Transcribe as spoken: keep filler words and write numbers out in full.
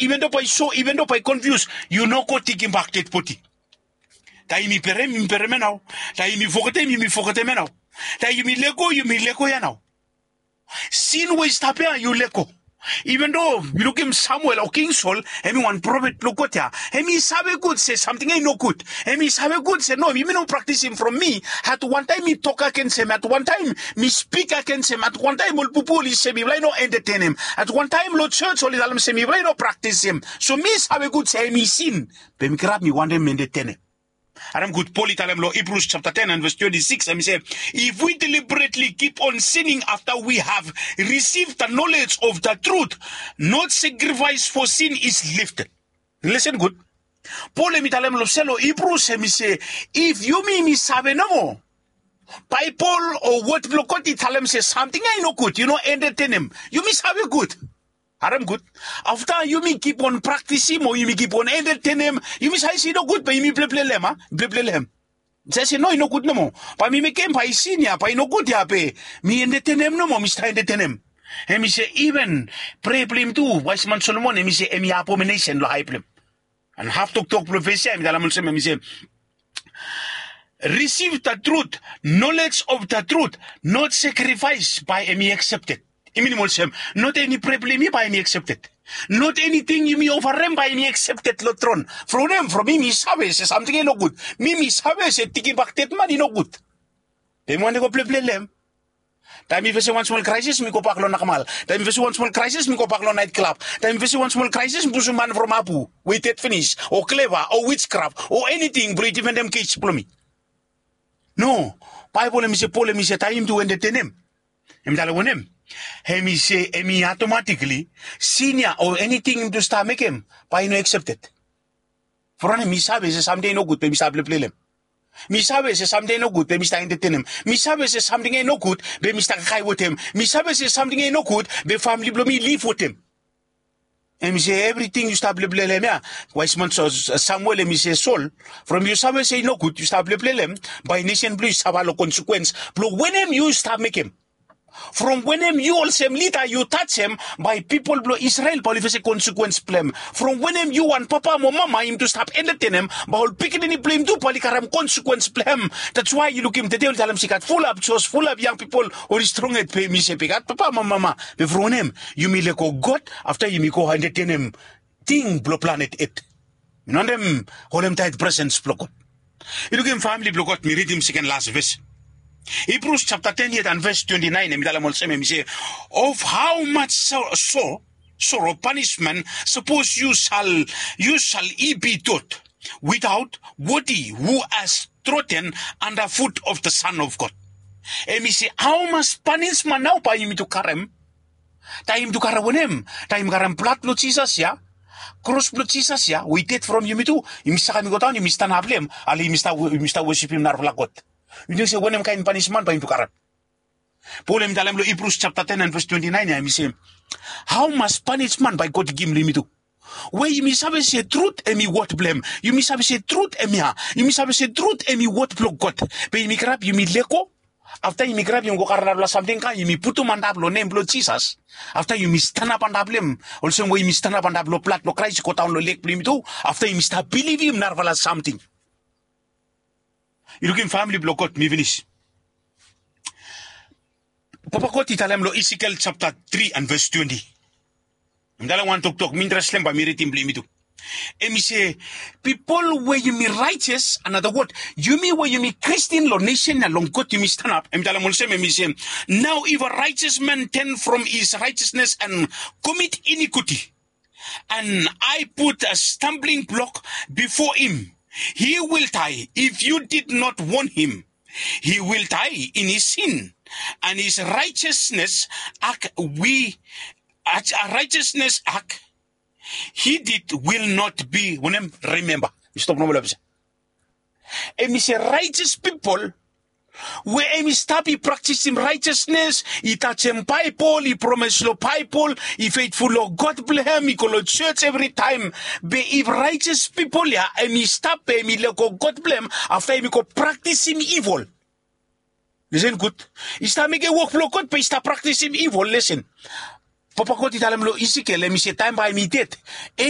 Even do bae i so even do bae i konfius, yu no go tigimbak dedbodi. Taem yumi berem yumi berem ya nao. Taem yumi fogetem yumi fogetem ya nao. Taem yumi lego yumi lego ya nao. Sin we i stap ya yu lego. Even do yu lukim samuel o king sol, hem i wan profet blong god ya, hem i save gud se samting ya i nogud. Hem i save gud se no, yumi no praktisim from mi. At wantaem mi tok agens hem, at wantaem mi spik agens hem, at wantaem ol pupu oli se mifala i no endetenem, at wantaem long jos oli talem se mifala i no praktisim. So mi save gud se hem i sin, be mi kirap mi wantem endetenem. Harem gud, pol i talem long hibrus japta ten and ves twenti sikis, hem i se, if we deliberetli kip on sining afta we have risiv da nolej of da trut, not sakrifaes fo sin is lifted. Lesen gud. Pol hem i talem long sel long hibrus hem i se, if yumi mi save nomo, baebol o wod blong god i talem se samting ya i nogud, yu no endetenem, yumi save gud. Harem gud. Afta yumi kip on praktisim o yumi kip on endetenem, yumi save se i nogud be yumi pleple long hem a pleple long hem. Save se no i nogud nomo. Bae mi mekem bae i sin ya bae i nogud ya be mi endetenem nomo, mi stap endetenem. Hem i se iven prea blong yumi tu, waesman solomon hem i se hem i abominesen long hae blong hem. And haf toktok blong ves ya hem i talem olsem, hem i se, risiv da trut, nolej of da trut, not sakrifaes bae hem i aksepted. I minim olsem, not eni prea blong yumi bae hem i aksepted. Not eniting yumi ofarem bae hem i aksepted long tron. From hem from mi mi save se samting ya i nogud. Mi mi save se tigimbak dedman i nogud. Be mi wantem go pleple long hem. Taem mi fesem wan smol kraesis mi gobak long nakamal. Taem mi fesem wan smol kraesis mi gobak long naet klab. Taem mi fesem wan smol kraesis mi pusum man from abu we i ded finis, o kleva o wijkraf o eniting blong i difendem kes blong mi. No. Baebol hem i se pol hem i se taem yumi tu endetenem, hem i talem wanem? Hem i se hem i atomatikli, sin ya o eniting yumi tu stap mekem bae i no aksepted. From wanem? Mi save se samting ya i nogud be mi stap pleple long hem. Mi save se samting ya i nogud be mi stap endetenem. Mi save se samting ya i nogud be mi stap kakae wetem. Mi save se samting ya i nogud be famle blong mi i liv wetem. Hem i se evriting yu stap pleple long hem ya. Waesman samuel hem i se sol, from yu save se i nogud yu stap pleple long hem, bae nesen blong yu i safa long konsekuens blong wanem yu stap mekem. From wanem yu olsem lida yu tajem, bae pipol blong isrel bae oli fesem konsekuens blong hem. From wanem yu wan papa mo mama yumi tu stap endetenem, bae ol pikinini blong yumi tu bae oli karem konsekuens blong hem. Dats wae yu lukim tede oli talem se i gat fulap jos fulap yang pipol oli strong hed be yumi se be i gat papa mo mama, be from wanem? Yumi lego god afta yumi go endetenem ting blong planet ed. Mi no wantem holem taet presens blong god. Yu lukim famle blong god, mi ridim seken las ves. Hibrus japta ten yet and ves twenti naen hem i talem olsem, hem i se, of hao maj soro panismen sapos yu sal yu sal i bi dot witaot wodi hu has troten anda fut of da san of god. Hem i se hao maj panismen nao bae yumi tu karem? Taem yumi tu karem wanem? Taem yumi karem blad blong jisas ya, kros blong jisas ya we i ded from yumi tu, yumi sakem i godaon yumi stanap long hem, ale yumi stap wosipim narafala god. Yu ting se wanem kaen panisman bae yumi tu karem? Pol hem i talem long hibrus japta ten and ves twenti naen ya hem i se, hao maj panisman bae god i givim long yumi tu? We yumi save se trut hem i wod blong hem, yumi save se trut hem ya, yumi save se trut hem i wod blong god, be yumi kirap yumi lego. Afta yumi kirap yumi go karem narafala samting kam yumi putum antap long nem blong jisas. Afta yumi stanap antap long hem, olsem we yumi stanap antap long blad blong kraes i godaon long lek blong yumi tu. Afta yumi stap bilivim narafala samting. Yu lukim famle blong god, mi finis. Papa god i talem long isikel japta tri and ves twenti. Mi talem wan toktok mi interestem bae mi ridim blong yumi tu. Hem i se, pipol we yumi raejes, anata wod, yumi we yumi kristin long nesen ya long god yumi stanap, hem i talem olsem, hem i se, nao if a raejes man ten from his raejesnes and komit inikuti, and I put a stambling blok bifo him, he will dae. If yu did not won him, he will dae in his sin, and his raejesnes ak wi a raejesnes ak he did will not bi wanem, rimemba. Mi stop nomo long pesa. Hem i se raejes pipol we hem i stap i praktisim raejesnes, i tajem baebol, i promes long baebol, i fetful long god blong hem, i go long jos evritaem. Be if raejes pipol ya hem i stap be hem i lego god blong hem, afta hem i go praktisim ivol. Lesen gud. I stap mekem wok blong god be i stap praktisim ivol. Lesen. Papa god i talem long isikel em i se taem bae mi ded. Em